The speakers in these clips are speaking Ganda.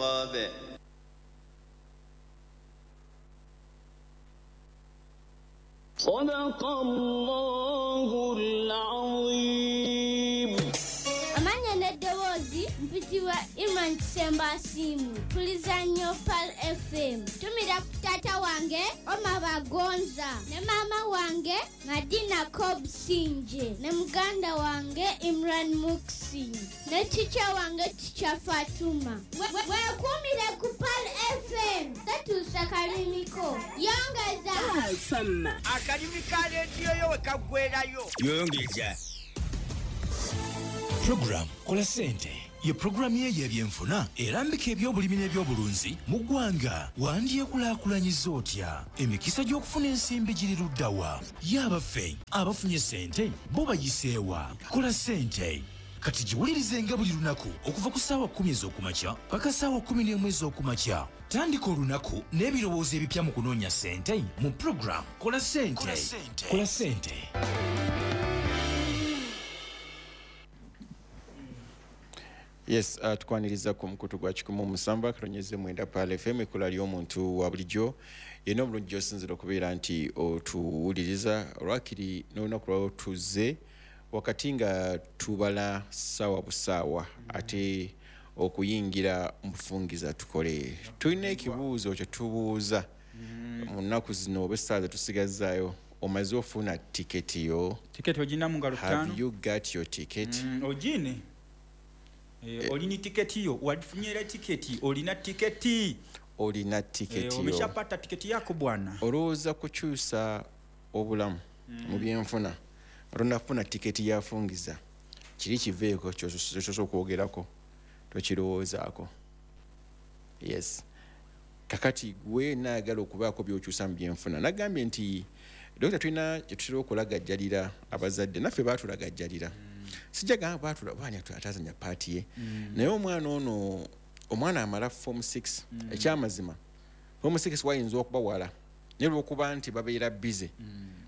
الرابع. صدق الله العظيم. Amanya n'eddoboozi mpitibwa Iman Kisemba Asiimwe. Mpuliriza nnyo Pearl FM. Tumira ku taata wange Omar Bagonza ne maama wange Madina Kobsinje ne muganda wange Imran Muksin ne teacher wange Teacher Fatuma. Weekuumire ku Pearl FM. Tatuusa kalimiko. Yongeza. Akalimi ka leediyo yo we kaggwerayo. Yongeza. Program Kola Sente ye programu ye y'ebyenfuna erambika ebyobulimi n'ebyobulunzi mu ggwanga. Wandyekulaakulanyiza otya? Emikisa gy'okufuna ensimbi giri ludda wa? Ye abaffe abafunye ssente bo bayiseewa? Kola Sente kati giwulirizenga buli lunaku okuva ku ssaawa 10 ez'okumakya paka ssaawa 11 ez'okumakya. Tandika olunaku n'ebirowoozo ebipya mu kunoonya ssente mu program Kola Sente. Kola Sente. Yes, tukwaniriza ku mukutu gwa 107.9 Pearl FM, ekkula ly'omuntu wa bulijjo. Yenna obulungi gy'osinziira okubeera nti otuwuliriza olwakiri n'olunaku lwawo tuzze wakati nga tubala ssaawa busaawa ate okuyingira mu bufungiza tukole. Tulina ekibuuzo kye tubuuza mu nnaku zino oba essaawa ze tusigazaayo. Omaze ofuna tiketi yo? Tiketi ogina mu ngalo Have ttaano. you got your ticket? Ogine. Olina tiketi yo, wafunye tiketi, olina tiketi. Olina tiketi yo. Umeshapata tiketi yako bwana. Olowooza kukyusa obulamu mu byenfuna tonafuna tiketi yafungiza, kiri kiveeko kyosoose okwogerako tokirowoozaako. Yes, kakati gwe naayagala okubaako by'okyusa mu byenfuna, nagambye nti dokita tulina kye tutera okulagajjalira abazadde, naffe baatulagajjalira. Sijja gamba baatula baani atazanya paati ye, naye omwana ono, omwana amala form 6, ekyamazima form 6 wayinza okuba wala, naye olw'okuba nti babeera busy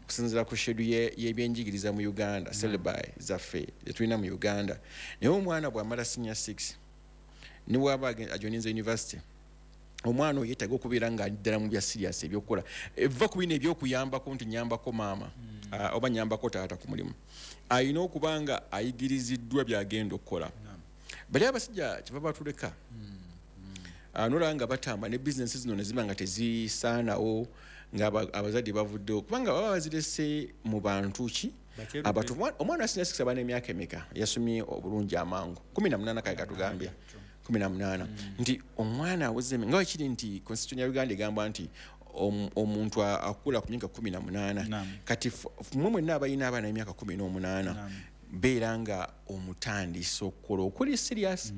okusinziira ku schedule y'ebyenjigiriza mu Uganda, syllabi zaffe zetulina mu Uganda. Naye omwana bw'amala senior 6 ne bw'aba ajoininze university, omwana oyo yeetaaga okubeera nga ali ddala mu bya serious ebyokukola. Eva ku bino ebyokuyambako nti nyambako maama, oba nyambako taata ku mulimu, alina okuba nga ayigiriziddwa by'agenda okukola. Bali abasajja kyeva batuleka, nolaba nga batamba ne bizinesi zino ne ziba nga tezisaanawo, nga abazadde bavuddewo kubanga baba bazirese mu bantu ki Bakyerudde. abatu. Omwana wa senior 6 aba n'emyaka emeka yasomye obulungi amangu? 18, kale katugambye 18, nti omwana aweze nga wekiri nti constitution ya Uganda egamba nti omuntu akula ku myaka 18. Kati mmwe mwenna abalina abaana b'emyaka 18, beera nga omutandisa okukola okuli serious,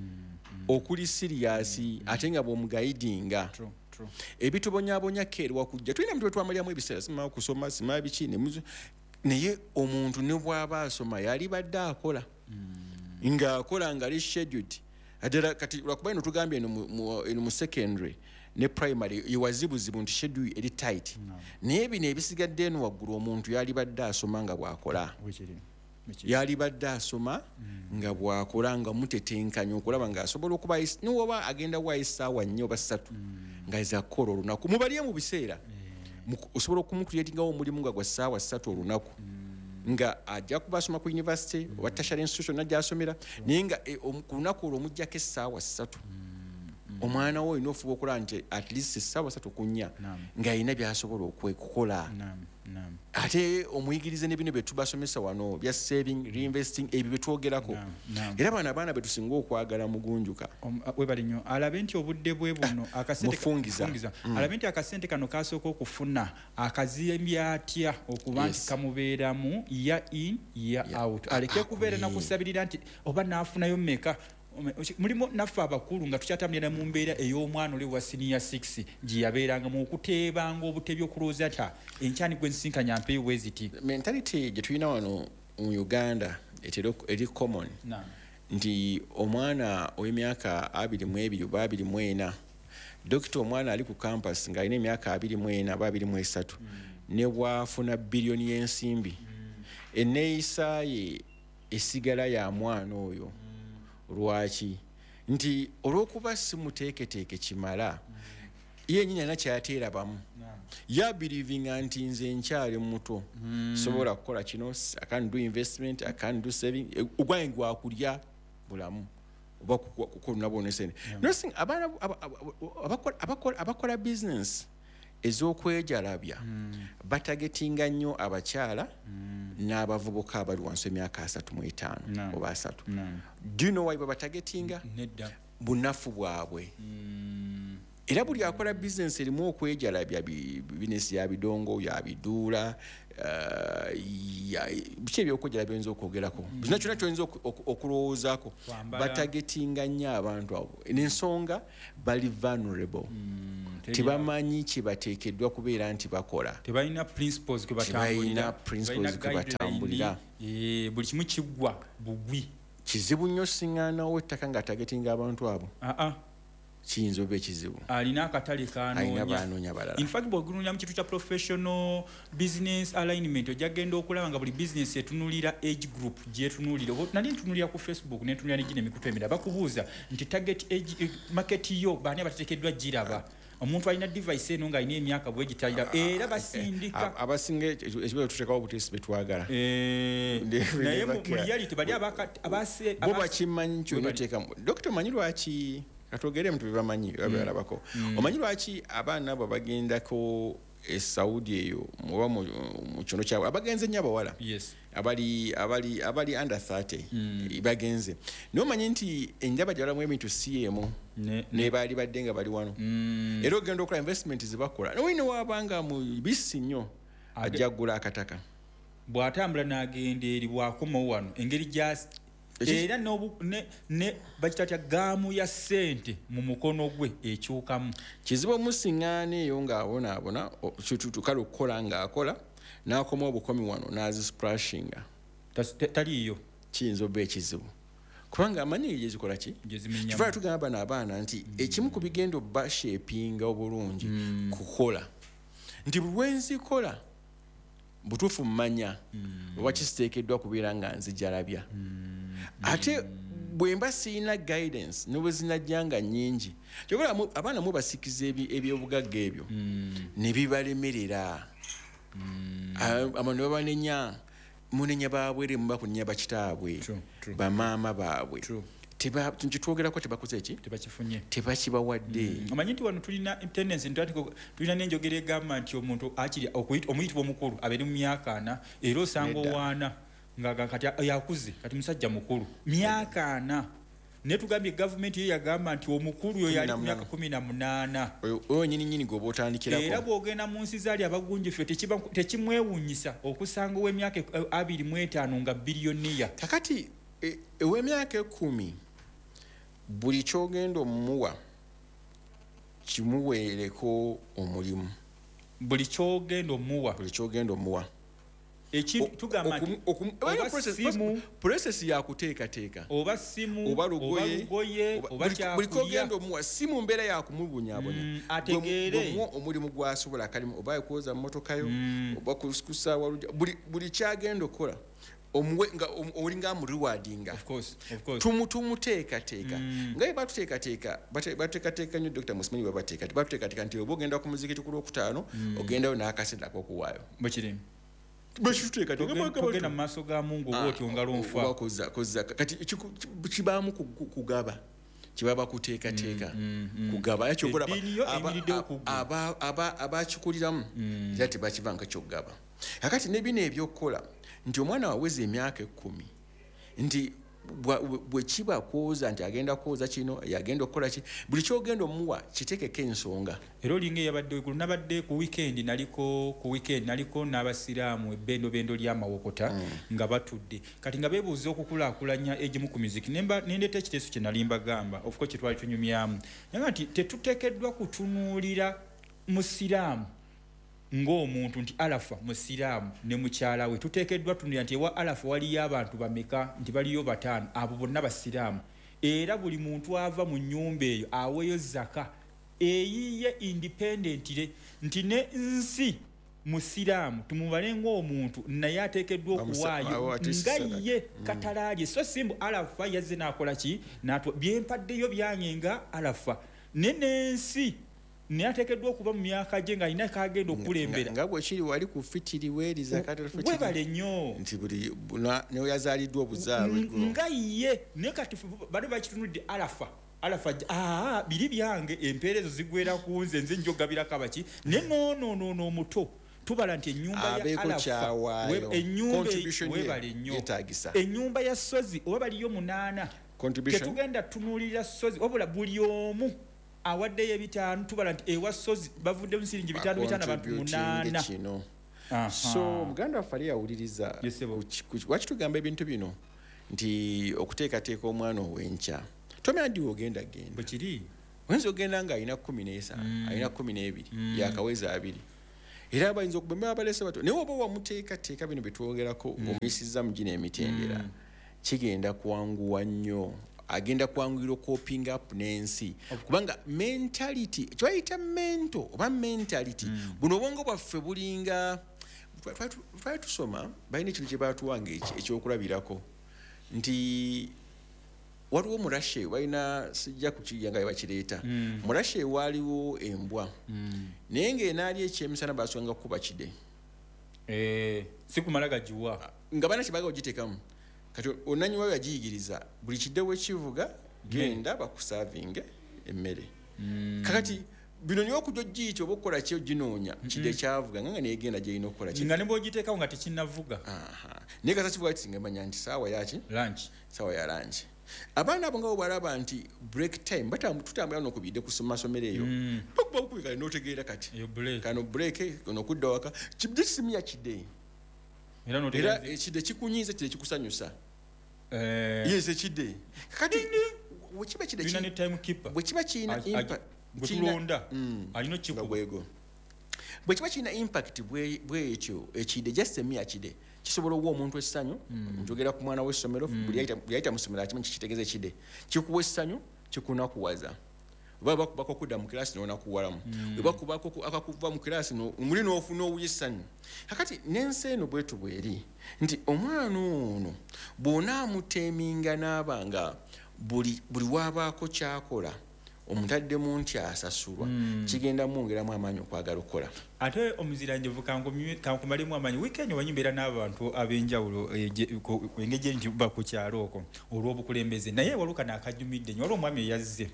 okuli serious, ate nga bw'omuguidinga. True, true. Ebitubonyaabonya keerwa kujja tulina mutwe twamaliramu ebiseera, simaa kusoma simaa biki naye omuntu ne bw'aba asoma yalibadde akola ng'akola nga ali scheduled ddala. Kati lwakuba eno tugambye eno eno mu secondary ne primary ewazibuzibu nti schedule eri tight, naye bino ebisigadde eno waggulu omuntu yalibadde asoma nga bw'akola. Wekiri. Wekiri. Yalibadde asoma nga bw'akola nga mutetenkanya okulaba ng'asobola okuba niwoba agenda waayo essaawa 4 oba 3 nga zakukola olunaku, mubalye mu biseera. Osobola okumucreatingawo omulimu nga gwa ssaawa 3 olunaku, nga ajja kuba asoma ku university oba tertiary institution najja asomera, naye nga ku lunaku olwo omuggyako essaawa 3. Omwana wo olina ofuba okulaba nti at least essaawa 3 ku 4 ng'alina by'asobola okukola. Naam, naam. Ate omuyigirize ne bino bye tubasomesa wano bya saving, reinvesting, ebyo bye twogerako. Naam, naam. Era bano abaana be tusinga okwagala mugunjuka. Webale nnyo. Alabe nti obudde bwe buno akasente Mufungiza. Mufungiza. Alabe nti akasente kano kasooka okufuna akazimbye atya okuba nti kamubeeramu year in year out, aleke kubeera nakusabirira nti oba naafunayo mmeka. Mulimu naffe abakulu nga tukyatambulira mu mbeera ey'omwana oli wa senior 6 gye yabeerangamu okuteebanga obutebi okulowooza nti enkyani gwe nsinkanya mpeeyo bwe ziti. Mentality gye tulina wano mu Uganda etera eri common nti omwana ow'emyaka 22 oba 24, dokita, omwana ali ku campus ng'alina emyaka 24 oba 23, ne bw'afuna biliyoni y'ensimbi, enneeyisa ye esigala ya mwana oyo. Lwaki? Nti olw'okuba si muteeketeeke kimala, ye nnyini alina kyateerabamu. Yabelievinga nti nze nkyali muto, sobola kukola kino, I can do investment, I can do saving. Ogwange gwakulya bulamu oba kukola nabwo nesente. Abaana abakola business ez'okwejalabya batagetinga nnyo abakyala n'abavubuka abali wansi emyaka 35 oba 30. Do you know why babatagetinga? Bunafu bwabwe. Era buli akola business erimu okwejalabya, business ya bidongo, ya biduula, biki ebyokwejala byoyinza okwogerako, kyonna kyonna kyoyinza okulowoozaako, batagetinga nnyo abantu abo. N'ensonga bali vulnerable, tebamanyi kye bateekeddwa kubeera nti bakola, tebalina principles kwe batambulira, buli kimu kiggwa bugwi. Kizibu nnyo siŋŋaanawo ettaka ng'atagetinga abantu abo. Kiyinza oba ekizibu. Alina akatale kanoonya balala. In fact, bw'ogunulira mu kintu kya professional business alignment, ojja genda okulaba nga buli business etunuulira age group gyetunuulira. Nali ntunuulira ku Facebook, nentunuulira ne gino emikutu emirala, bakubuuza nti target age market yo baani abateekeddwa giraba. Omuntu alina device eno ng'alina emyaka bwe gitalira, era basindika abasinga ekibuzo tuteekawo obuteesi be twagala. Naye mu reality bali abase bo bakimanyi kyonna oteekamu. Dokita, omanyi lwaki katwogere muntu bebamanyi babalabako? Omanyi lwaki abaana abo bagendako e Saudi eyo oba mu kyono kyabwe abagenze nnyo abawala abali under 30 bagenze? Naye omanyi nti enjaba gye balamu ebintu si emu ne baali badde nga bali wano. Era ogenda okola investment zebakola naye newaabanga mu bisi nnyo ajja kugula akataka bw'atambula n'agenda eri, bw'akomawo wano engeri gyasi era ne bakitatya gaamu ya ssente mu mukono gwe ekyukamu. Kizibu omusiŋŋaana eyo ng'abonaabona kale okukola ng'akola n'akoma obukomi wano n'azisprashinga taliiyo, kiyinza oba ekizibu kubanga amanyi gyezikola ki. Kifaala tugamba bano abaana nti ekimu ku bigenda obashepinga obulungi kukola, nti buli lwenzikola butuufu mmanya oba kisiteekeddwa kubeera nga nzijalabya. Ate bwe mba sirina guidance ne bwe zinajjanga nnyingi, kyokka abaana mubasikiza ebyobugagga ebyo ne bibalemerera. Abantu babanenya, munenya baabwe muba kunenya bakitaabwe, bamaama baabwe. Kitwogerako tebakoze ki? Tebakifunye, tebakibawadde. Omanyi nti wano tulina tendency, tulina n'enjogera egamba nti omuntu akiri omuyitibwa omukulu abeere mu myaka 40, era osanga owaana nga kati yakuze, kati musajja mukulu myaka 40. Naye tugambye gavumenti yo yagamba nti omukulu yo yali ku myaka 18. Oyo nnyini nnyini gw'oba otandikirako. Era bw'ogenda mu nsi zaali abagunjufu tekimwewuunyisa okusanga ow'emyaka 25 nga biliyoniya. Kakati ow'emyaka 10 buli ky'ogenda omuwa kimuweereko omulimu. Buli ky'ogenda omuwa. Buli ky'ogenda omuwa. Tugamba nti process ya kuteekateeka oba simu oba lugoye oba kyakulya, buli ky'ogenda omuwa si mu mbeera ya kumubonyaabonya, ategeere omulimu gw'asobola akalimu, oba kwoza mmotoka yo, oba kusaawa lujja, buli ky'agenda okukola omuwe nga olinga amurewardinga. Of course. Tumuteekateeka. Nga batuteekateeka, batuteekateeka nnyo Dr. Musimanyi batuteekateeka nti oba ogenda ku muzikiti ku Lwokutaano, ogendayo n'akasente ak'okuwaayo. Bwe kiri. Bwe Togenda mu maaso ga Mungu oba otyo ngalo nfa. Kati kibaamu kugaba. Kibaba kuteekateeka. Kugaba. Abakikuliramu era tebakivanga kyokugaba. Kakati ne bino ebyokukola nti omwana waweza emyaka 10 nti bwe kiba kwoza nti agenda kwoza kino, yagenda okukola ki, buli ky'ogenda omuwa kiteekeko ensonga. Era olinga eyabadde eggulo, nabadde ku weekend, naliko ku weekend, naliko n'abasiraamu ebbendobendo ly'amawokota nga batudde. Kati nga beebuuza okukulaakulanya egimu ku miziki. Nendeeta ekiteeso kye nali mbagamba, of course kye twali tunyumyamu. Naye nti tetuteekeddwa kutunuulira musiraamu ng'omuntu nti Alafa musiraamu ne mukyala we. Tuteekeddwa tunuulira nti ewa Alafa waliyo abantu bameka, nti baliyo 5, abo bonna basiraamu. Era buli muntu ava mu nnyumba eyo aweeyo zaka eyiye independently, nti ne nsi Musiraamu, tumubale ng'omuntu naye ateekeddwa okuwaayo nga ye katalaalye. So simbu Arafa yazze n'akola ki, byempaddeyo byange nga Arafa, ne n'ensi naye ateekeddwa okuba mu myaka gye ng'alina kagenda okukulembera. Nga bwe kiri wali ku fitiri weeri zakatul fitiri, webale nnyo nti buli ne yazaaliddwa obuzaalwe nga ye. Naye kati bano bakitunudde Arafa, Arafa biri byange, empeera ezo zigwera ku nze, nze njogabirako abaki. Ne noono omuto tubala nti ennyumba ya Arafa, webale nnyo, ennyumba ya Sozi oba baliyo 8, tetugenda tunuulira Sozi, wabula buli omu awaddeyo 5, tubala nti ewa Sozi bavudde mu siringi 5 abantu 8. So muganda waffe ali yawuliriza, lwaki tugamba ebintu bino nti okuteekateeka omwana ow'enkya tomanya ddi ogenda genda. Bwekiri oyinza ogenda nga alina 15, alina 12, yakaweza 2, era bayinza okubemba abalese bato. Naye oba wamuteekateeka bino byetwogerako ng'omuyisizza mu gino emitendera, kigenda kwanguwa nnyo, agenda kwanguyira okoping up n'ensi. Kubanga mentality, kyebayita mento oba mentality, buno obwongo bwaffe bulinga, twali tusoma balina ekintu kye baatuwanga ekyokulabirako nti waliwo murashe balina, sijja kukirya nga bakireeta, murashe waaliwo embwa, naye ng'enaali ekyemisana baasonga kukuba kide, si kumala gagiwa nga balina kyebaagala ogiteekamu. Kati onanyi wayo yagiyigiriza buli kidde wekivuga genda bakusaavinge emmere. Kakati bino niwe okujja ogiyita oba okukola ki oginoonya kidde kyavuga nga neegenda gyerina okukola ki, nga ne bw'ogiteekawo nga tekinnavuga. Naye kasa kivuga kiti nga manya nti saawa yaki, lunch, saawa ya lunch. Abaana abo nga bwe balaba nti break time, tutambula n'okubidde ku masomero eyo, bakuba bukubikale n'otegeera kati kano break, ono okudda waka kidde kisimiya kidde, era ekidde kikunyiiza, kidde kikusanyusa. Yes, ekidde kati bwe kiba kidde bwe kiba kirina impact, bwe kiba kirina impact bwekyo ekidde just emiya kidde kisobola okuwa omuntu essanyu. Njogera ku mwana w'essomero, buli yayita mu ssomero akimanyi kikitegeeza ekidde kikuwa essanyu, kikunakuwaza. Oba bakubako okudda mu kirasi n'onakuwalamu, bwe bakubako akakuva mu kirasi muli n'ofuna owuya essanyu. Kakati n'ensi eno bwetu bweri nti omwana ono bw'onaamuteeminga n'aba nga buli waabaako ky'akola omutaddemu nti asasulwa, kigenda mwongeramu amaanyi okwagala okukola. Ate omuziranjovu kankumalemu amaanyi, wiikendi omanyi mbeera n'abantu ab'enjawulo engeri nti ba ku kyalo okwo olw'obukulembeze, naye waliwo kano akajumidde nnyo. Waliwo omwami eyazze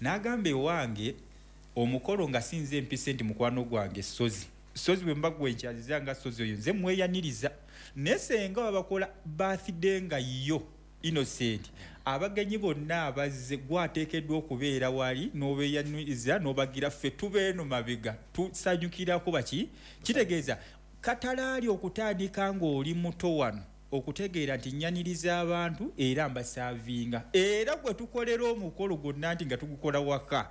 n'agamba ewange omukolo nga sinze empise nti mukwano gwange Sozi, Sozi bwe mba gwenkyaziza nga Sozi oyo nze mweyaniriza, naye senga babakola birthday nga yo Innocent, abagenyi bonna abazze gwateekeddwa okubeera wali n'obeeyaniriza n'obagira ffe tubeeno mabega tusanyukirako baki. Kitegeeza katalaali okutandika ng'oli muto wano okutegeera nti nnyaniriza abantu era mbasaavinga, era gwe tukolera omukolo gwonna nti nga tugukola waka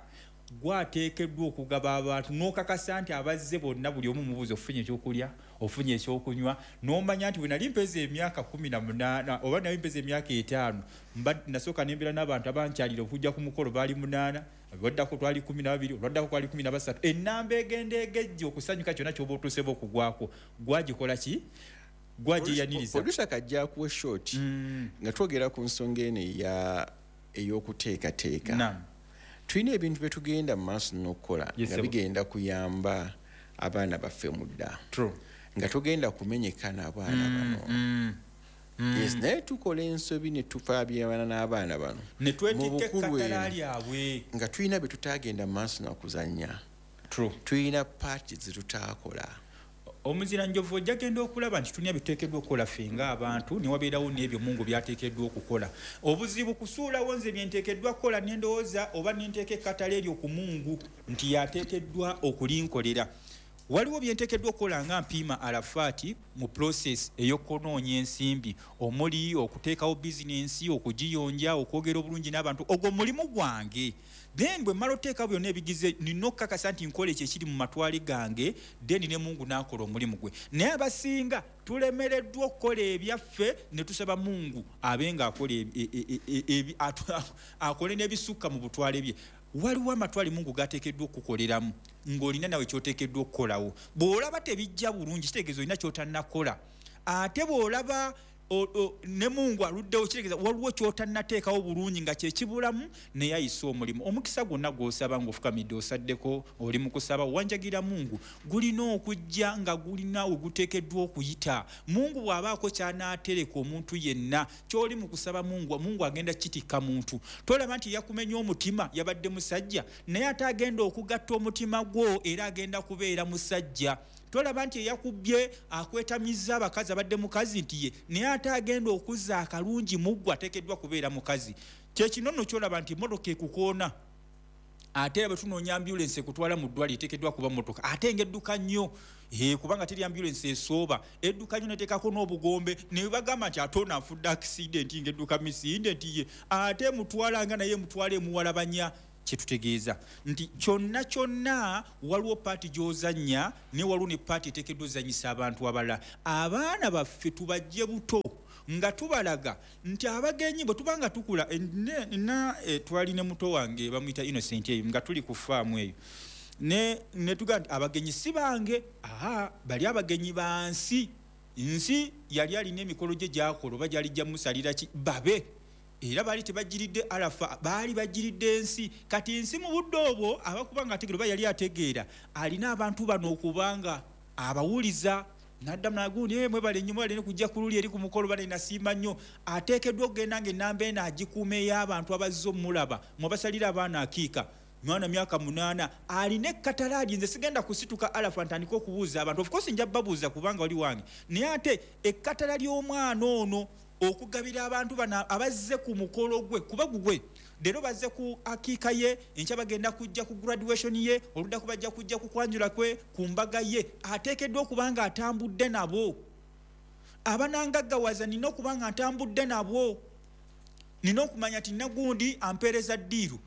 gwateekeddwa okugaba abantu n'okakasa nti abazze bonna buli omu mubuuza ofunye ekyokulya, ofunye ekyokunywa, n'omanya nti bwe nali mpeza emyaka 18 oba nali mpeza emyaka 5 nasooka nembeera n'abantu abankyalira okujja ku mukolo baali 8, olwaddako twali 12, olwaddako kwali 13. Ennamba egenda egejja okusanyuka kyonna ky'oba otuuseba okugwako gwagikola ki, gwagiyaniriza. Producer kajja akuwa short nga twogera ku nsonga eno ey'okuteekateeka. Tulina ebintu bye tugenda mu maaso n'okukola nga bigenda kuyamba abaana baffe mudda, nga tugenda kumenyeka n'abaana bano. Yes, naye tukola ensobi ne tufaabirana n'abaana bano ne twetikka ekkatala lyabwe nga tulina bye tutaagenda mu maaso nakuzannya, tulina paati ze tutaakola. Omuziranjovu ojja genda okulaba nti tulina biteekeddwa okukola ffe ng'abantu, ne wabeerawo n'ebyo Mungu by'ateekeddwa okukola. Obuzibu kusuulawo nze bye nteekeddwa kukola ne ndowooza oba ne nteeka ekkatala eryo ku Mungu nti y'ateekeddwa okulinkolera. Waliwo bye nteekeddwa okukola nga mpiima Arafaati mu process ey'okunoonya ensimbi, omuli okuteekawo bizinensi, okugiyonja, okwogera obulungi n'abantu, ogwo mulimu gwange. Then bwe mmala oteekawo byonna ebigize, nina okukakasa nti nkola ekyo ekiri mu matwale gange, then ne Mungu n'akola omulimu gwe. Naye abasinga tulemereddwa okukola ebyaffe ne tusaba Mungu abe ng'akola akole n'ebisukka mu butwale bye. Waliwo amatwale Mungu gateekeddwa okukoleramu ng'olina nawe kyoteekeddwa okukolawo. Bw'olaba tebijja bulungi, kitegeeza olina kyotannakola. Ate bw'olaba ne Mungu aluddewo, kitegeeza waliwo kyotannateekawo bulungi nga kyekibulamu, naye ayise omulimu. Omukisa gwonna gw'osaba ng'ofukamidde, osaddeko, oli mu kusaba, owanjagira Mungu, gulina okujja nga gulina we guteekeddwa okuyita. Mungu bw'abaako ky'anaatereka omuntu yenna, ky'oli mu kusaba Mungu, Mungu agenda kitikka muntu. Tolaba nti yakumenya omutima, yabadde musajja, naye ate agenda okugatta omutima gwo, era agenda kubeera musajja. Tolaba nti eyakubye akwetamizza abakazi, abadde mukazi nti ye, naye ate agenda okuzza akalungi muggwe, ateekeddwa kubeera mukazi. Kyekino nno kyolaba nti emmotoka ekukoona, ate era bwe tunoonya ambulensi ekutwala mu ddwaliro eteekeddwa kuba mmotoka, ate ng'edduka nnyo, kubanga teri ambulensi esooba, edduka nnyo neteekako n'obugombe, ne bagamba nti ate ono afudde accident ng'edduka misinde nti ye, ate emutwala nga naye emutwala emuwalabanya. Kyetutegeeza nti kyonna kyonna waliwo paati gy'ozannya, naye waliwo ne paati eteekeddwa ozannyisa abantu abalala. Abaana baffe tubajje buto nga tubalaga nti abagenyi bwe tuba nga tukula, twali ne muto wange bamuyita Innocent eyo nga tuli ku faamu eyo, ne tugamba nti abagenyi si bange, aha, bali abagenyi ba nsi. Nsi yali alina emikolo gye gy'akola oba gyali gyamusalira ki babe, era baali tebagiridde Arafa, baali bagiridde ensi. Kati ensi mu budde obwo abakuba nga ategeera oba yali ategeera, alina abantu bano okubanga abawuliza n'addamu n'agundi, mwebale nnyo, mwebale nnyo kujja ku luli eri ku mukolo, bane nasiima nnyo. Ateekeddwa okugenda ng'ennamba eno agikuuma ey'abantu abazze omulaba, mwabasalira abaana akiika mwana myaka 8, alina ekkatalaali. Nze sigenda kusituka Arafa ntandike okubuuza abantu, of course nja babuuza kubanga wali wange, naye ate ekkatala ly'omwana ono okugabira abantu bano abazze ku mukolo gwe, kuba gugwe leero bazze ku akiika ye, enkya bagenda kujja ku graduation ye, oluddaku bajja kujja ku kwanjula kwe, ku mbaga ye, ateekeddwa okuba nga atambudde nabo. Abanangaggawaza nina okuba nga ntambudde nabo, nina okumanya nti nagundi ampeereza ddiiru,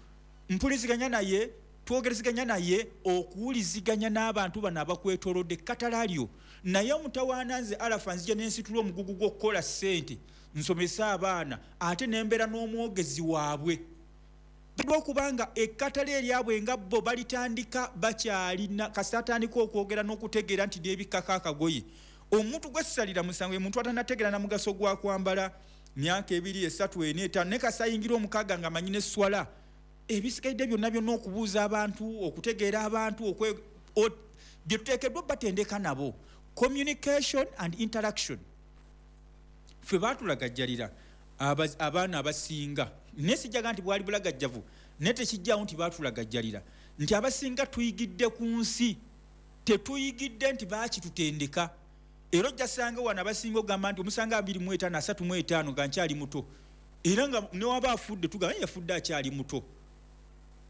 mpuliziganya naye, twogereziganya naye, okuwuliziganya n'abantu bano abakwetoolodde ekkatalaalyo. Naye omutawaana nze Arafa nzija n'ensitula omugugu gw'okukola ssente nsomese abaana, ate nembeera n'omwogezi waabwe. Okubanga ekkatala eryabwe nga bo balitandika bakyalina, kasita atandika okwogera n'okutegeera nti neebikkako akagoye. Omuntu gwe ssalira musango ye muntu atannategeera na mugaso gwa kwambala myaka 2, 3, 4, 5, naye kasita ayingira omukaaga ng'amanyi n'esswala, ebisigadde byonna byonna okubuuza abantu, okutegeera abantu, bye tuteekeddwa batendeka nabo, communication and interaction. Ffe baatulagajjalira abaana abasinga, naye sijjaga nti bwali bulagajjavu, naye tekijjawo nti baatulagajjalira nti abasinga tuyigidde ku nsi, tetuyigidde nti baakitutendeka. Era ojja sanga wano abasinga ogamba nti omusanga 25, 35 nga nkyali muto, era nga newaba afudde tugamba yafudde akyali muto.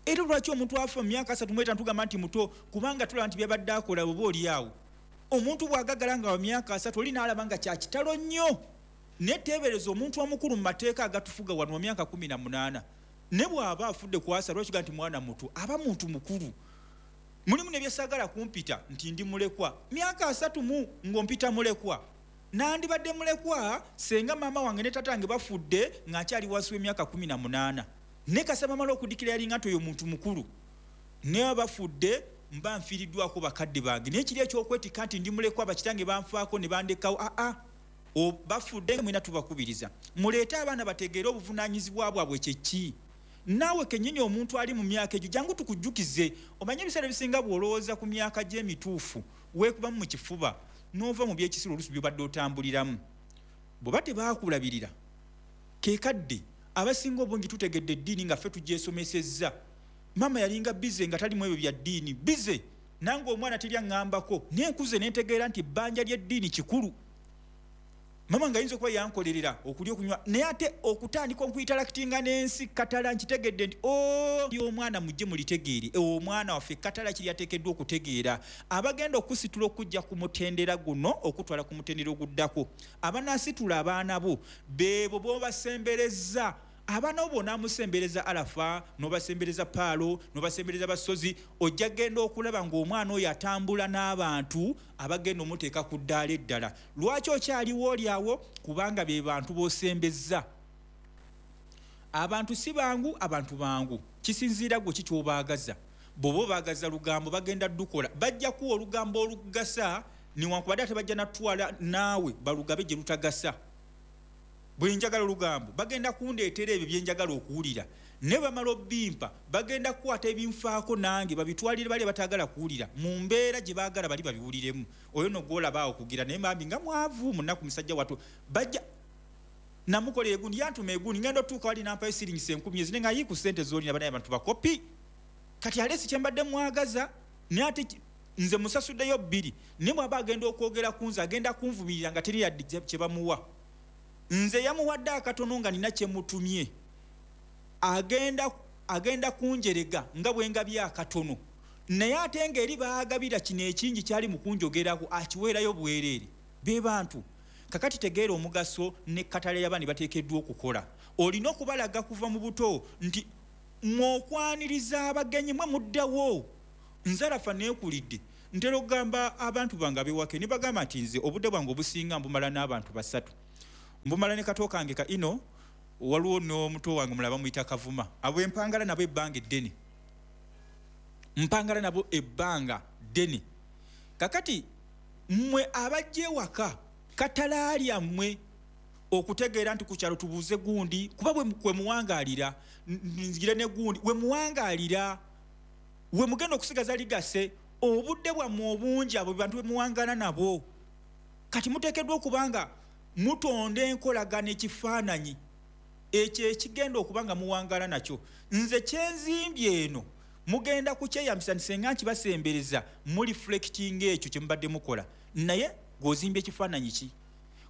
Era lwaki omuntu afa mu myaka 35 tugamba nti muto? Kubanga tulaba nti byabadde akola oba oli awo. Omuntu bw'agaggala nga wa myaka 30 oli n'alaba nga kya kitalo nnyo. Naye teebereza omuntu omukulu mu mateeka agatufuga wano wa myaka 18, ne bw'aba afudde kwasa, lwaki nti mwana muto? Aba muntu mukulu. Mulimu ne byesaagala kumpita nti ndi mulekwa. Myaka 30 ng'ompita mulekwa, nandibadde mulekwa senga maama wange ne taata wange bafudde nga nkyali wansi w'emyaka 18. Ne kasaba mala okudikira yalinga nti oyo muntu mukulu, naye bafudde mba nfiiriddwako bakadde bange. Naye kiri ekyokwetikka nti ndi mulekwa, bakitange banfaako ne bandekawo, aa bafudde. Mwena tubakubiriza muleete abaana bategeere obuvunaanyizibwa bwabwe kyeki. Naawe kennyini omuntu ali mu myaka egyo, jangu tukujjukize. Omanye ebiseera ebisinga bw'olowooza ku myaka gy'emituufu, weekubamu mu kifuba n'ova mu byekisiru oluusi by'obadde otambuliramu. Bw'oba tebaakulabirira, kekadde abasinga obungi tutegedde eddiini nga ffe tugyesomesezza. Maama yalinga busy nga talimu ebyo bya ddiini, busy nange omwana teri aŋŋambako, naye nkuze ne ntegeera nti ebbanja ly'eddiini kikulu. Mama nga ayinza okuba yankolerera okulya, okunywa, naye ate okutandika okuinteractinga n'ensi katala, nkitegedde nti omwana mujje mulitegeere omwana waffe katala kiri ateekeddwa okutegeera. Abagenda okusitula okujja ku mutendera guno okutwala ku mutendera oguddako, abanaasitula abaana bo beebo b'obasembereza. Abaana bo bw'onaamusembereza Arafa, n'obasembereza Paalo, n'obasembereza Basozi, ojja genda okulaba ng'omwana oyo atambula n'abantu abagenda omuteeka ku ddaala eddala. Lwaki okyaliwo oli awo? Kubanga be bantu b'osembezza. Abantu si bangu, abantu bangu. Kisinziira gwe ki ky'obaagaza. Bw'oba obaagaza lugambo bagenda ddukola, bajja kuwa olugambo olugasa, newankubadde ate bajja natwala naawe balugabe gye lutagasa. Bwe njagala olugambo bagenda kundeetera ebyo bye njagala okuwulira, ne bamala obimpa bagenda kukwata ebinfaako nange babitwalire bali abataagala kuwulira mu mbeera gye baagala bali babiwuliremu. Oyo no gw'olaba awo kugira naye bambi nga mwavu munaku musajja wattu, bajja namukolera egundi, yantuma egundi, ngenda otuuka wali nampayo siringisa 1000 ezine nga yiku ssente z'olina, banaye abantu bakopi. Kati alesi kye mbadde mwagaza, naye ate nze musasuddeyo 2, naye bw'aba agenda okwogera ku nze agenda kunvumirira nga teri yadde kye bamuwa. Nze yamuwadde akatono nga nina kye mutumye, agenda kunjerega nga bwe ngabye akatono, naye ate ng'eri baagabira kino ekingi kyali mu kunjogerako akiweerayo bwereere. Be bantu. Kakati tegeera omugaso ne katale y'abaana bateekeddwa okukola. Olina okubalaga kuva mu buto nti mwokwaniriza abagenyi mwe muddawo. Nzarafa neekulidde, ntera okugamba abantu bange ab'ewaka ne bagamba nti nze obudde bwange obusinga mbumala n'abantu 3. Mbumala ne kato kange ka ino, waliwo n'omuto wange mulaba muyita Kavuma. Abo empangala nabo ebbanga eddene, mpangala nabo ebbanga ddene. Kakati mmwe abajja ewaka katalaalya mmwe okutegeera nti ku kyalo tubuuze gundi, kuba bwe muwangaalira nzigire ne gundi, we muwangaalira we mugenda okusigaza ligase obudde bwammwe obungi abo bantu be muwangaala nabo. Kati muteekeddwa okubanga mutonda enkolagana ekifaananyi ekyo ekigenda okuba nga muwangaala nakyo. Nze kyenzimbye eno mugenda kukyeyambisa nti senga nkibasembereza muliflectinga ekyo kye mubadde mukola. Naye gw'ozimbye ekifaananyi ki?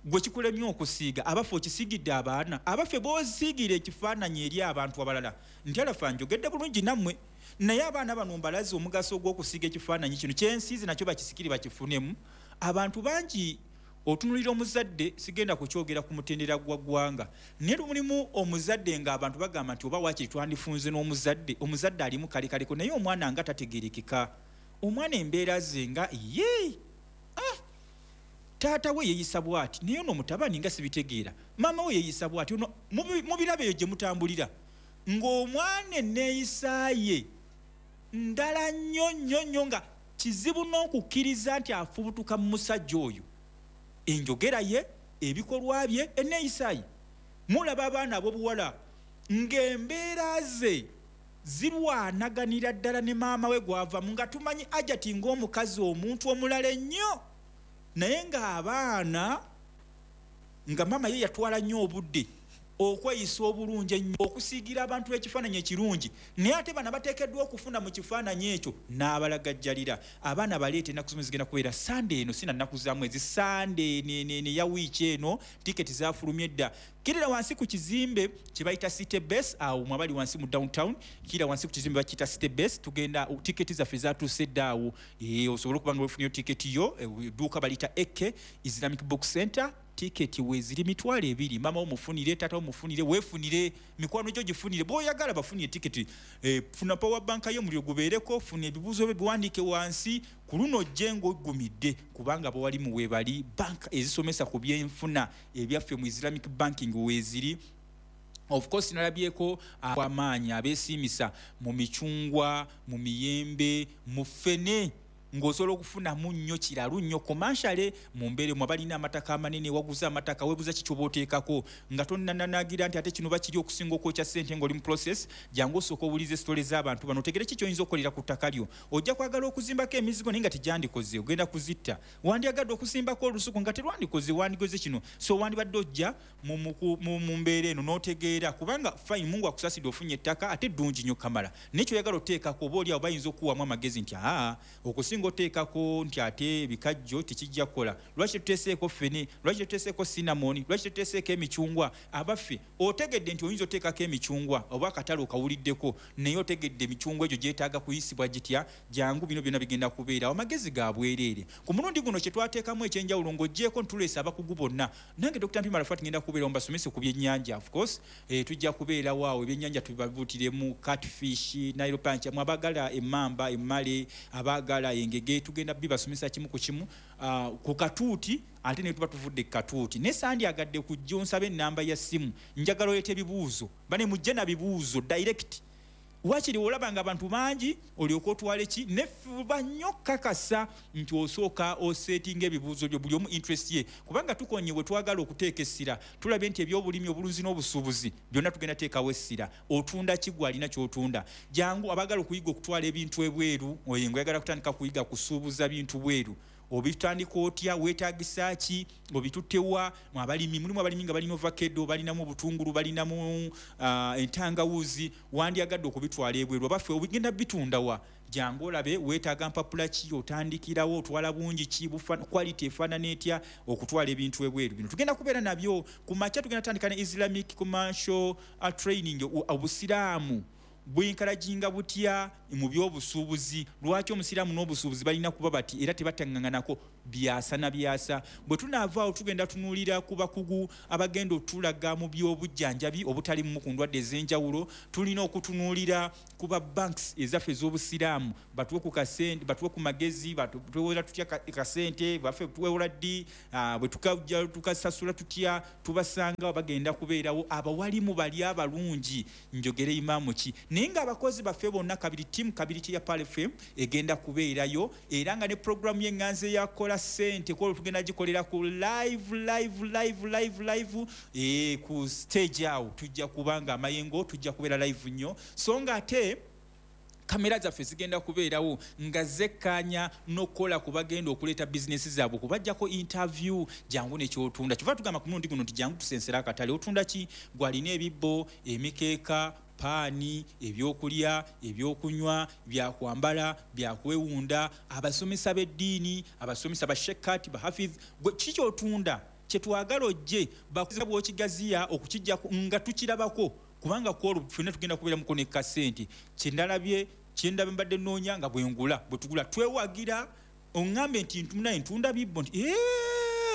Gwe kikulemye okusiiga, abaffe okisigidde abaana, abaffe b'osiigira ekifaananyi eri abantu abalala nti alafa njogedde bulungi nammwe, naye abaana bano mbalaze omugaso ogw'okusiiga ekifaananyi kino kyensiize nakyo bakisikire bakifunemu. Abantu bangi otunulira omuzadde, sigenda kukyogera ku mutendera gwa ggwanga, naye mulimu omuzadde ng'abantu bagamba nti oba waakiri twandifunze n'omuzadde, omuzadde alimu kalekaleko naye omwana nga tategeerekeka, omwana embeera ze nga ye taata we yeeyisa bw'ati, naye ono mutabani nga sibitegeera, maama we yeeyisa bw'ati, ono mubirabo eyo gye mutambulira ng'omwana enneeyisa ye ndala nnyo nnyo nnyo nga kizibu n'okukkiriza nti afubutuka mu musajja oyo. Enjogera ye, ebikolwa bye, enneeyisa ye. Mulaba abaana ab'obuwala ng'embeera ze zirwanaganira ddala ne maama we gw'avamu, nga tumanyi Ajati ng'omukazi omuntu omulala ennyo, naye ng'abaana nga maama ye yatwala nnyo obudde okweyisa obulungi ennyo, okusiigira abantu ekifaananyi ekirungi, naye ate bano bateekeddwa okufuna mu kifaananyi ekyo n'abalagajjalira. Abaana baleete ennaku zimu zigenda kubeera Sande eno, sina nnaku za mwezi, Sande eno eya wiiki eno, tiketi zaafulumye dda. Kirira wansi ku kizimbe kye bayita City Base, awo mwe abali wansi mu downtown, kirira wansi ku kizimbe bakiyita City Base, tugenda tiketi zaffe zaatuuse dda awo. Osobola okuba nga weefunyeyo tiketi yo, edduuka baliyita AK Islamic Book Center, tiketi weeziri 20,000. Maama wo mufunire, taata wo mufunire, weefunire, mikwano gyo gifunire, bw'oyagala bafunire tiketi. Funa power bank yo omuliro gubeereko, funa ebibuuzo byo biwandiike wansi, ku luno ojje ng'oggumidde, kubanga bawalimu weebali banka ezisomesa ku byenfuna ebyaffe mu Islamic banking weeziri. Of course nalabyeko amaanyi abeesiimisa mu micungwa, mu miyembe, mu ffene, ng'osobola okufunamu nnyo kiralu nnyo commercially mu mbeera emu. Abalina amataka amanene, waguza amataka, weebuuza ki ky'oba oteekako nga tonnananagira nti ate kino bakiri okusinga okwokya ssente ng'oli mu process. Jangu osooka owulize sitole z'abantu bano, otegere ki ky'oyinza okukolera ku ttaka lyo. Ojja kwagala okuzimbako emizigo naye nga tegyandikoze, ogenda kuzitta. Wandyagadde okusimbako olusuku nga terwandikoze, wandigoze kino. So wandibadde ojja mu mbeera eno n'otegeera, kubanga fine, Mungu akusaasidde ofunye ettaka ate ddungi nnyo kamala, naye ky'oyagala oteekako oba oli awo bayinza okukuwamu amagezi nti aa okusinga oteekako nti ate ebikajjo tekijja kukola, lwaki tetuteeseeko ffene, lwaki tetuteeseeko cinnamon, lwaki tetuteeseeko emicungwa. Abaffe otegedde nti oyinza oteekako emicungwa oba akatale okawuliddeko, naye otegedde emicungwa egyo gyetaaga kuyisibwa gitya. Jangu bino byonna bigenda kubeerawo, amagezi ga bwereere. Ku mulundi guno kye twateekamu ekyenjawulo ng'oggyeeko ntuleese abakugu bonna, nange Dr. Mpima Arafat ngenda kubeerawo mbasomese ku byennyanja. Of course tujja kubeerawo awo, ebyennyanja tubibabuutiremu catfish, Nile perch, mwe abaagala emmamba, emmale, abaagala engege. Tugenda bibasomesa kimu ku kimu ku katuuti, ate ne tuba tuvudde ku katuuti. Ne sandyagadde kujja onsabe ennamba ya ssimu, njagala oleete ebibuuzo, bane mujje na bibuuzo direct. Wakiri olaba nga abantu bangi olyoka otwale ki, nefuba nnyo kakasa nti osooka osetinga ebibuuzo byo buli omu interest ye, kubanga tukonye bwe twagala okuteeka essira. Tulabye nti ebyobulimi, obulunzi n'obusuubuzi byonna tugenda teekawo essira. Otunda ki gwe alina ky'otunda? Jangu abaagala okuyiga okutwala ebintu ebweru, oyo ng'oyagala kutandika kuyiga kusuubuza bintu bweru, obitandika otya, weetagisa ki, obitutte wa? Abalimi, mulimu abalimi nga balina ovakedo, balinamu obutungulu, balinamu entangawuzi, wandyagadde okubitwala ebweru, abaffe obigenda bitunda wa? Jangu olabe weetaaga mpapula ki, otandikirawo, otwala bungi ki, quality efaanana etya okutwala ebintu ebweru. Bino tugenda kubeera nabyo ku makya. Tugenda tandika ne Islamic commercial training. Obusiraamu bwenkalajinga butya mu byobusuubuzi? Lwaki omusiraamu n'obusuubuzi balina kuba bati era tebataŋŋanako byasa na byasa? Bwe tunaavaawo tugenda tunuulira ku bakugu abagenda otulaga mu byobujjanjabi obutali mu ku ndwadde ez'enjawulo. Tulina okutunuulira ku ba banks ezaffe ez'obusiraamu, batuwe ku kasente, batuwe ku magezi, twewola tutya kasente baffe, tuwewola ddi, bwe tukasasula tutya, tubasanga bagenda kubeerawo abawalimu bali abalungi. Njogere imaamu ki, naye ng'abakozi baffe bonna kabiri, tiimu kabiri ya Pearl FM egenda kubeerayo, era nga ne puroguramu y'eŋŋanzi eyakola ssente kwolwo tugenda gikolera ku live, live, live, live, live ku stage awo. Tujja kubanga amayengo, tujja kubeera live nnyo, so nga ate kamera zaffe zigenda kubeerawo nga zekkaanya n'okukola ku bagenda okuleeta bizinesi zaabwe, kubajjako interview. Jangu nekyotunda. Kyova tugamba ku mulundi guno nti jangu tusensera akatale. Otunda ki? Gwalina ebibbo, emikeeka, paani, ebyokulya, ebyokunywa, byakwambala, byakwewunda, abasomesa b'eddiini, abasomesa bashekati, bahafidh, gwe ki kyotunda kyetwagala ojje bakuza bw'okigaziya okukijja nga tukirabako, kubanga kwolwo ffenna tugenda kubeera muko ne kasente. Kyendalabye, kyendabye, mbadde nnoonya nga bwengula, bwe tugula twewagira. Oŋŋambe nti naye ntunda bibbo, nti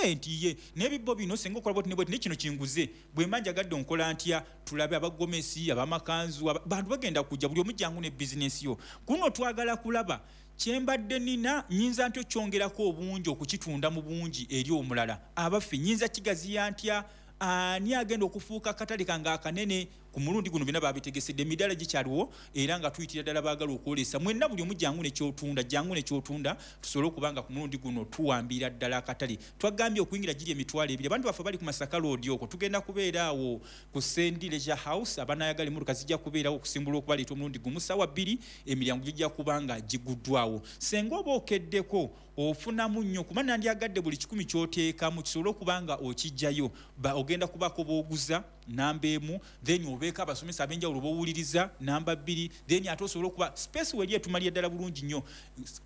nti ye n'ebibbo bino senga okola bwoti ne bwoti, ne kino kinguze, bwe mba njagadde onkola ntya? Tulabe abagomesi, abamakanzu, bantu bagenda kujja, buli omu jangu ne bizinesi yo. Kuno twagala kulaba kyembadde nina, nyinza ntya okyongerako obungi, okukitunda mu bungi eri omulala? Abaffe, nyinza kigaziya ntya? Ani agenda okufuuka akatale kange akanene ku mulundi guno? Byonna babitegesedde, emidaala gikyaliwo, era nga tuyitira ddala baagala okwolesa mwenna, buli omu jangu nekyotunda, jangu nekyotunda, tusobole okuba nga ku mulundi guno tuwambira ddala akatale. Twagambye okuyingira giri 20,000. Abantu baffe bali ku Masaka Road okwo, tugenda kubeera awo ku Sendi Leisure House. Abanayagala emmotoka zijja kubeerawo okusimbula okubaleeta omulundi gumu sawa 2, emiryango gijja kuba nga giguddwawo. Senga oba okeddeko ofunamu nnyo, kuba nandyagadde buli 100 kyoteekamu kisobole okuba nga okijjayo. Ogenda kubaako booguza namba 1, then obeeko abasomesa ab'enjawulo bowuliriza namba 2, then ate osobole okuba space weri etumalira ddala bulungi nnyo.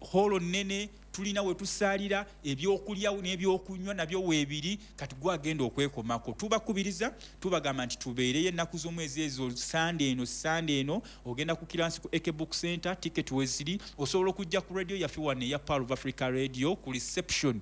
Holo nnene, tulina we tusaalira, ebyokulya n'ebyokunywa nabyo weebiri. Kati gwagenda okwekomako, tubakubiriza, tubagamba nti tubeereyo ennaku z'omwezi ezo, Sande eno. Sande eno ogenda ku kiransi ku AK Book Center, ticket weziri. Osobola okujja ku radio yaffe wano eya Pearl of Africa Radio, ku reception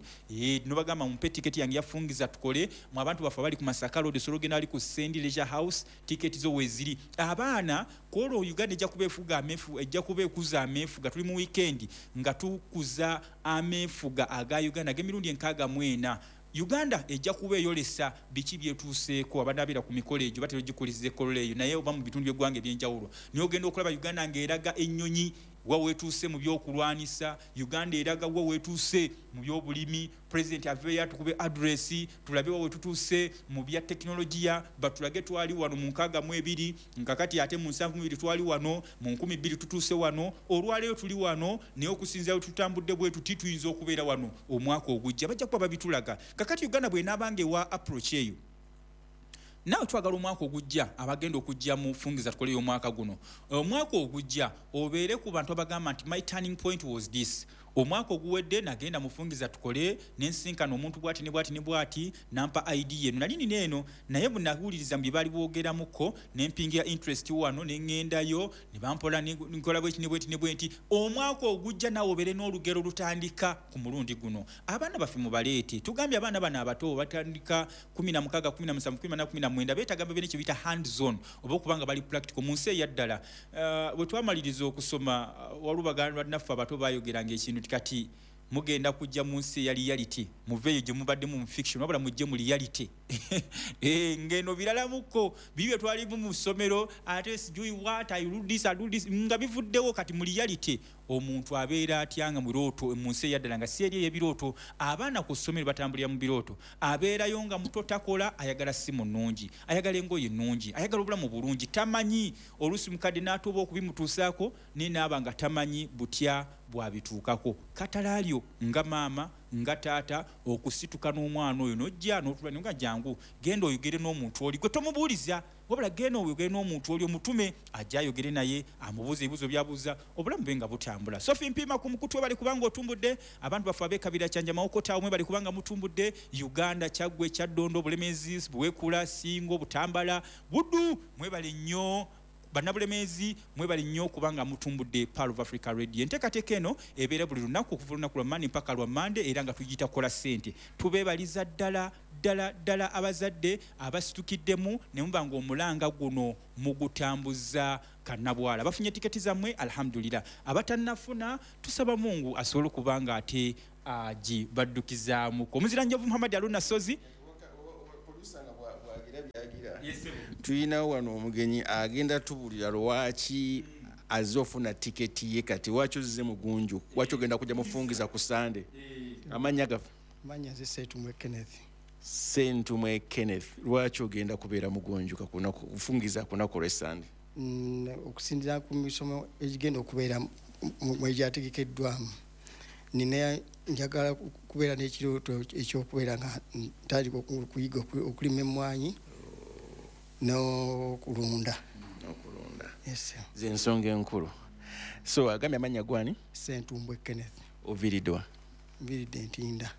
nobagamba, "Mumpe tiketi yange yafungiza tukole." Mu abantu baffe abali ku Masaka Road, osobola ogenda ali ku Sendi Leisure House, tiketi zo weziri. Abaana kwolwo Uganda ejja kuba efuga amefu, ejja kuba ekuza ameefuga. Tuli mu weekend nga tukuza ameefuga aga Uganda ag'emirundi 64. Uganda ejja kuba eyolesa biki byetuuseeko. Abanabeera ku mikolo egyo batera ogikuliza ekolola eyo, naye oba mu bitundu by'eggwanga ebyenjawulo, naye ogenda okulaba Uganda ng'eraga ennyonyi wa wetuuse mu byokulwanisa, Uganda eraga wa wetuuse mu byobulimi. President aveeyo atukube address, tulabe wa wetutuuse mu bya tekinologiya, batulage twali wano mu 62, nkakati ate mu 72 twali wano, mu 2000 tutuuse wano, olwaleero tuli wano, naye okusinzira we tutambudde bwe tuti tuyinza okubeera wano omwaka ogujja. Bajja kuba babitulaga. Kakati Uganda bwenaabanga ewa approach eyo, naawe twagala omwaka ogujja, abagenda okujja mu fungiza tukoleyo omwaka guno, omwaka ogujja obeere ku bantu abagamba nti, "My turning point was this. Omwaka oguwedde nagenda mufungiza tukole nensinkana omuntu bwati ne bwati ne bwati, nampa idea eno nali nina eno, naye bwe nawuliriza mu bye baali boogeramuko nempingira interest wano, neŋŋendayo ne bampola nkola bweti ne bweti ne bwenti." Omwaka ogujja naawe obeere n'olugero lutandika ku mulundi guno. Abaana baffe mubaleete. Tugambye abaana bano abato batandika 16, 17, 18, 19, beetaaga babeere kye biyita hands on, oba okuba nga bali practical mu nsi eyaddala. Bwe twamaliriza okusoma, waliwo baganda bannaffe abato bayogeranga ekintu nti Nti kati mugenda kujja mu nsi eya reality, muveeyo gye mubadde mu fiction, wabula mujje mu reality. Ngeno biralamuko bibye twalimu mu ssomero, ate sijui what I do this, I do this, nga bivuddewo. Kati mu reality omuntu abeera atya nga mu birooto, mu nsi eyaddala nga si eri ey'ebirooto? Abaana ku ssomero batambulira mu birooto. Abeerayo nga muto, takola, ayagala simu nnungi, ayagala engoye nnungi, ayagala obulamu bulungi, tamanyi. Oluusi mukadde n'atuuba okubimutuusaako, naye naaba nga tamanyi butya bwabituukako. Katalaalyo nga maama, nga taata, okusituka n'omwana oyo n'ojja n'otula nga jangu genda oyogere n'omuntu oli gwe tomubuuliza, wabula genda oyogere n'omuntu oli, omutume ajja ayogere naye, amubuuza ebibuuzo byabuuza, obulamu bwe nga butambula. Sofi Mpiima ku mukutu, bali kubanga otumbudde abantu baffe ab'ekabira Kyanja, Mawokota, omwe bali kubanga mutumbudde Uganda, Kyaggwe, Kyaddondo, Bulemezi, Buwekula, Singo, Butambala, Buddu, mwebale nnyo. Bannabulemeezi, mwebale nnyo kubanga mutumbudde Pearl of Africa Radio. Enteekateeka eno ebeera buli lunaku okuva olunaku lwa Mande mpaka lwa Mande, era nga tugiyita Kola Ssente. Tubeebaliza ddala ddala ddala abazadde abasitukiddemu ne muba nga omulanga guno mugutambuza kannabwala. Bafunye tiketi zammwe, alhamdulillah. Abatannafuna, tusaba Mungu asobole okuba nga ate agibaddukizaamuko. Omuzira Njovu Muhammad Aluna Sozi. Tulinawo wano omugenyi agenda tubulira lwaki azze ofuna tiketi ye. Kati lwaki ozze mugunju? Lwaki ogenda kujja mufungiza ku Sande? Amannya gaffe? Manya nze Sentumwe Kenneth. Sentumwe Kenneth, lwaki ogenda kubeera mugunjuka kufungiza ku lunaku olw'Essande? Okusinziira ku misomo egigenda okubeera mwegyategekeddwamu, nina njagala kubeera n'ekirooto ekyokubeera nga ntandika okuyiga okulima emmwanyi n'okulunda. Okulunda. Yes. Zensonga enkulu. So agambye amannya gwani? Sentumbwe Kenneth. Oviiriddwa? Nviiridde Ntinda.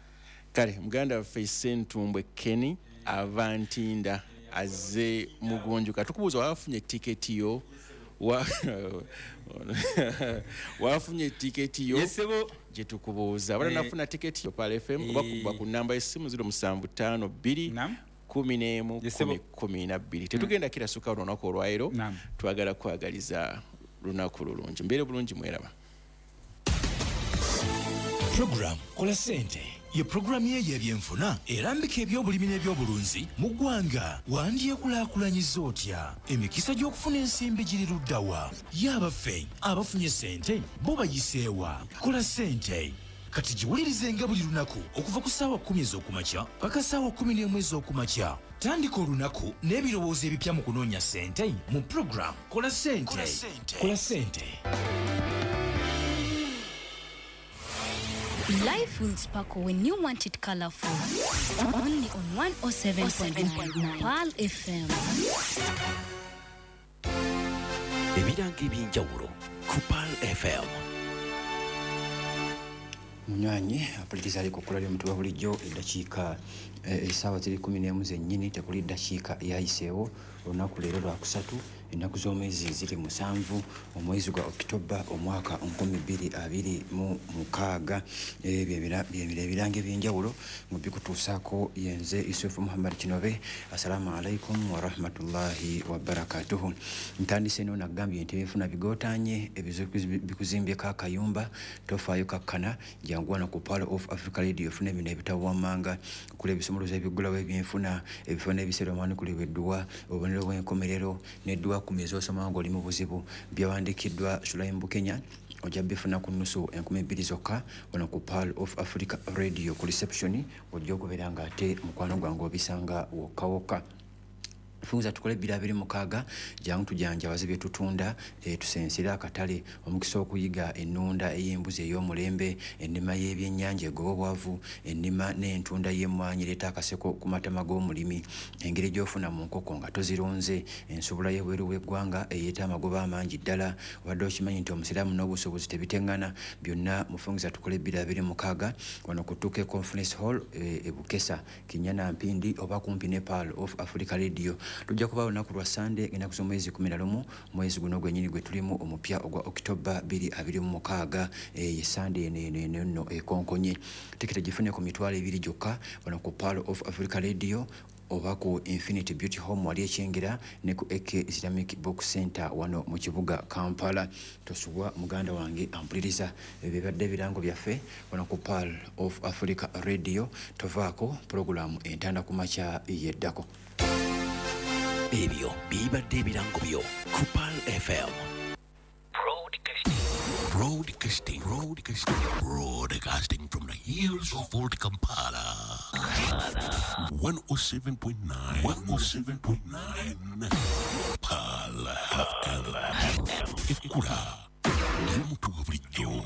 Kale muganda waffe Sentumbwe Kenny ava Ntinda, azze mugunjuka. Tukubuuza, wafunye tiketi yo? Wafunye tiketi yo? Yesebo. Gye tukubuuza, wala nafuna tiketi yo, Pearl FM, oba kuba ku namba y'essimu 0752 11 10 12. Tetugenda kirasuka olunaku olwaleero. Twagala kwagaliza lunaku lulungi, mbeere bulungi, mweraba. Program Kola Ssente ye puroguramu ye ey'ebyenfuna erambika ebyobulimi n'ebyobulunzi mu ggwanga. Wandyekulaakulanyiza otya? Emikisa gy'okufuna ensimbi giri luddawa? Ye abaffe abafunye ssente bo bayiseewa? Kola Ssente kati giwulirizenga buli lunaku okuva ku ssaawa 10 ez'okumakya paka ssaawa 11 ez'okumakya. Tandika olunaku n'ebirowoozo ebipya mu kunoonya ssente mu program Kola Ssente. Kola Ssente. Life will sparkle when you want it colorful. Only on 107.9 Pearl FM. Ebirango ebyenjawulo ku Pearl FM. Munywanyi apuliriza ali kukula ly'omutuba, bulijjo eddakiika essaawa ziri 11 zennyini, tekuli ddakiika yayiseewo. Olunaku leero Lwakusatu, ennaku z'omwezi ziri 7, omwezi gwa Okitoba, omwaka 2026. Ebyo ebirango ebyenjawulo mu bikutuusaako yenze Yusufu Muhammad Kinobe. Assalaamu alaikum warahmatullahi wabarakatuhu. Ntandise no nagambye nti ebyenfuna bigootanye, ebizibu bikuzimbyeko akayumba, tofaayo, kakkana, jangu wano ku Pearl of Africa Radio ofune bino ebitabo wammanga okula: ebisumuluzo ebiggulawo ebyenfuna, ebifo n'ebiseera omwanukulibwa edduwa, obubonero bw'enkomerero n'edduwa 10 ez'osoma ng'oli mu buzibu, byawandiikiddwa Sulaim Bukenya. Ojja bifuna ku nnusu 2000 zokka wano ku Pearl of Africa Radio. Ku reception ojja okubeera nga ate mukwano gwange obisanga wokka wokka. Funza tukole 226, jangu tujanjawaze bye tutunda, tusensere akatale. Omukisa okuyiga ennunda ey'embuzi ey'omulembe, ennima y'ebyennyanja egoba obwavu, ennima n'entunda y'emmwanyi ereeta akaseko ku matama g'omulimi, engeri gy'ofuna mu nkoko nga tozirunze, ensobola y'ebweru w'eggwanga eyeeta amagoba amangi ddala. Obadde okimanyi nti omusiraamu n'obusuubuzi tebiteŋŋana? Byonna mufungiza tukole 226 wano ku Tuke Conference Hall e Bukesa, Kinyana, Mpindi, oba kumpi ne Pearl of Africa Radio. Lujja kuba olunaku lwa Sande, ennaku z'omwezi 11, mwezi guno gwennyini gwe tulimu omupya ogwa Okitoba 2026. Ye Sande eno eno eno nno ekonkonye. Tiketi gifune ku 20,000 gyokka wano ku Pearl of Africa Radio. oba ku Infinity Beauty Home wali ekyengera ne ku AK Islamic Book Center wano mu kibuga Kampala. Tosubwa muganda wange ampuliriza, ebibadde ebirango byaffe wano ku Pearl of Africa Radio. Tovaako, pulogulaamu Entanda ku Makya yeddako. Ebyo bibadde ebirango byo ku Pearl FM. Broadcasting, broadcasting, broadcasting from the hills of Old Kampala. 107.9, 107.9, Pearl FM. Ekkula ly'omuntu wa bulijjo.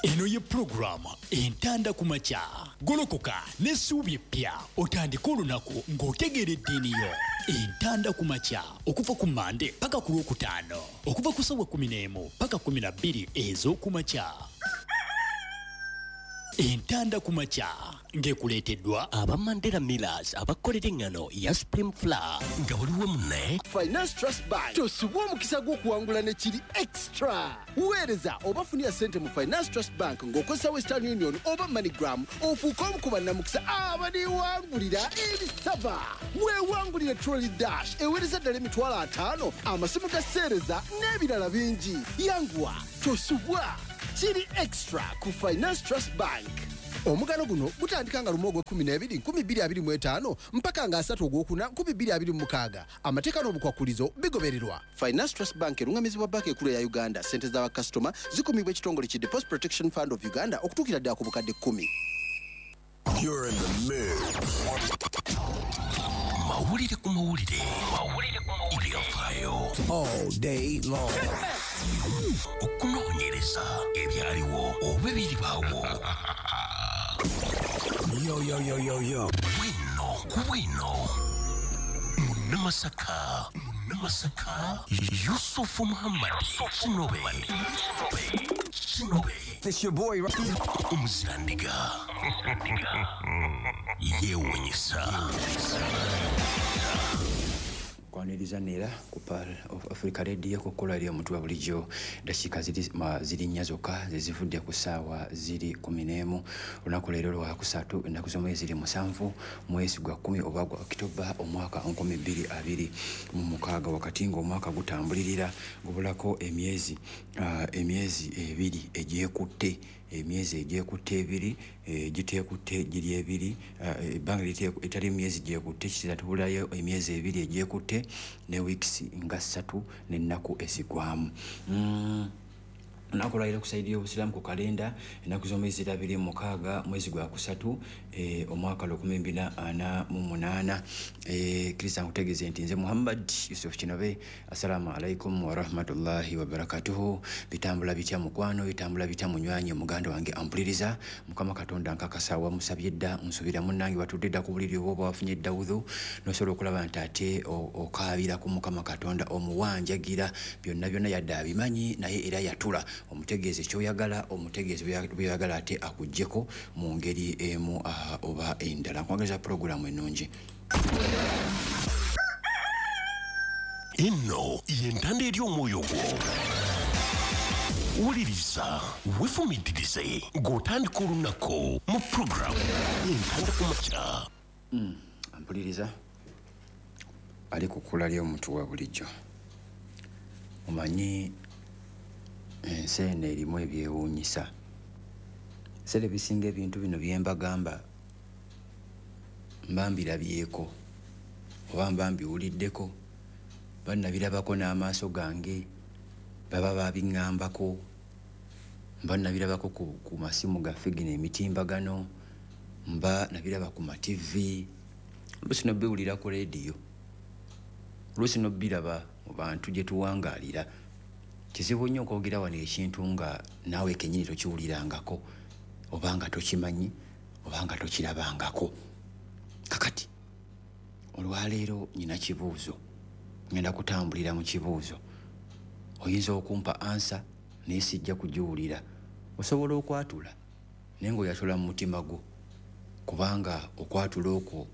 Eno ye pulogulaamu Entanda ku Makya. Golokoka n'essuubi eppya, otandike olunaku ng'otegeera eddiini yo. Entanda ku Makya okuva ku Mande paka ku Lwokutaano, okuva ku ssaawa 11 paka 12 ez'okumakya. Entanda ku Makya ng'ekuleeteddwa aba Mandela Millers abakolera eŋŋano ya Supreme Flour nga buli wamu ne Finance Trust Bank. Tosubwa omukisa gw'okuwangula ne kiri extra. Weereza oba funira ssente mu Finance Trust Bank ng'okozesa Western Union oba MoneyGram, ofuuke omu ku bannamukisa abaliwangulira ebisaba. Weewangulire Trolley Dash eweereza ddala 50,000, amasimu ga seereza n'ebirala bingi. Yanguwa, tosubwa, kiri extra ku Finance Trust Bank. Omugano guno gutandika nga 1 ogw'e12 2025 mpaka nga 3 ogwokuna 2026. Amateeka n'obukwakulizo bigobererwa. Finance Trust Bank erungamizibwa banka enkulu ya Uganda. Ssente z'abakasitoma zikumibwa ekitongole ki Deposit Protection Fund of Uganda okutuukira ddala ku bukadde 10. You're in the mix. Mawulire ku mawulire. Mawulire ku mawulire. Ebyafaayo. All day long. Okunoonyereza ebyaliwo oba ebiribaawo. Yo, yo, yo, yo, yo. Bwino ku bwino. Munnamasaka. Munnamasaka. Yusufu Muhammad. Kinobe. Kinobe. It's your boy. Omuzirandiga. Yeewuunyisa. Kwaniriza neera ku Pearl of Africa Radio ku kkola eri omuntu wa bulijjo. Dakiika ziri 4 zokka ze zivudde ku ssaawa ziri 11. Olunaku leero lwakusatu, ennaku z'omwezi ziri 7, mwezi gwa 10 oba gwa Okitoba omwaka 2026, wakati ng'omwaka gutambulirira gubulako emyezi 2 egyekutte, emyezi egyekutte 2, giteekutte giri 2, ebbanga etali myezi gyekutte, kitegeeza tubulayo emyezi 2 egyekutte ne weeks nga 3 n'ennaku ezigwamu. Olunaku lwaleero ku sayidi y'Obusiraamu ku kalenda, ennaku z'omwezi ziri 26 mwezi gwa 3 omwaka 2048. Kkiriza nkutegeeze nti nze Muhammad Yusuf Kinobe. Assalamu alaikum warahmatullahi wabarakatuhu. Bitambula bitya mukwano, bitambula bitya munywanyi, muganda wange ampuliriza. Mukama Katonda nkakasa wamusabye dda, nsuubira munnange watudde dda ku buliri oba wafunye dda wudhu, n'osobola okulaba nti ate okaabira ku Mukama Katonda omuwanjagira byonna byonna, yadde abimanyi naye era yatula. Omutegeeze kyoyagala, omutegeeze byoyagala ate akuggyeko mu ngeri emu oba endala. Nkwagaliza pulogulaamu ennungi. Eno y'entanda eri omwoyo gwo. Wuliriza, weefumiitirize ng'otandika olunaku mu pulogulaamu Entanda ku Makya. Ampuliriza ali ku kkula ly'omuntu wa bulijjo. Omanyi ensi eno erimu ebyewuunyisa. Ebiseera ebisinga ebintu bino bye mbagamba mba mbirabyeko oba mba mbiwuliddeko, bannabirabako n'amaaso gange, baba babiŋŋambako, mba nabirabako ku masimu gaffe gino emitimbagano, mba nabiraba ku ma TV, oluusi n'obiwulira ku leediyo, oluusi n'obiraba mu bantu gye tuwangaalira. Kizibu nnyo okwogera wano ekintu nga naawe kennyini tokiwulirangako oba nga tokimanyi oba nga tokirabangako. Kakati olwaleero nina kibuuzo, ngenda kutambulira mu kibuuzo. Oyinza okumpa ansa naye sijja kugiwulira. Osobola okwatula naye ng'oyatula mu mutima gwo, kubanga okwatula okwo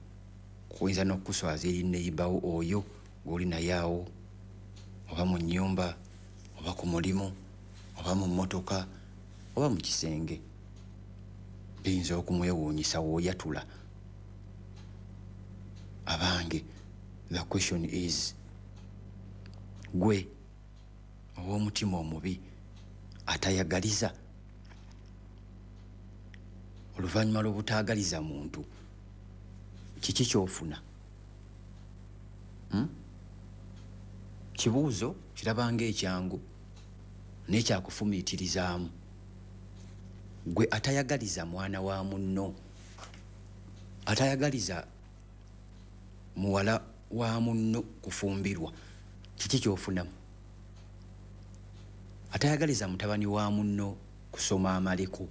kuyinza n'okukuswaza eri neighbour oyo gw'oli naye awo, oba mu nnyumba, oba ku mulimu, oba mu mmotoka, oba mu kisenge. Biyinza okumwewuunyisa w'oyatula. Abange, the question is, gwe ow'omutima omubi atayagaliza, oluvannyuma lw'obutaagaliza muntu, kiki ky'ofuna? Kibuuzo kirabanga ekyangu n'ekyakufumiitirizaamu. Gwe atayagaliza mwana wa munno, atayagaliza muwala wa munno kufumbirwa, kiki ky'ofunamu? Atayagaliza mutabani wa munno kusoma amaleko,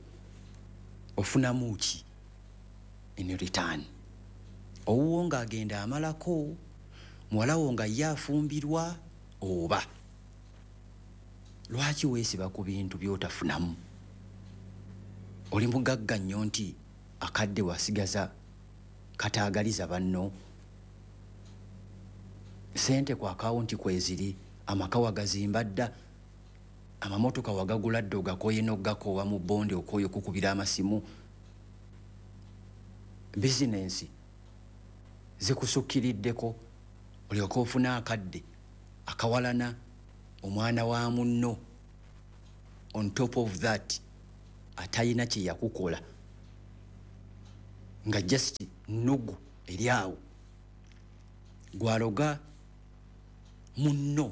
ofunamu ki in return? Owuwo ng'agenda amalako, muwala wo nga ye afumbirwa, oba lwaki weesiba ku bintu by'otafunamu? Oli mugagga nnyo nti akadde wasigaza kataagaliza banno. Sente ku akawunti kweziri, amaka wagazimba dda, amamotoka wagagula dda, ogakoye n'ogakoowa mu bondi, okooye okukubira amasimu. Bizinensi zikusukkiriddeko, olyoke ofune akadde akawalana omwana wa munno. On top of that, atayina kye yakukola, nga just nnugu eri awo gwaloga munno.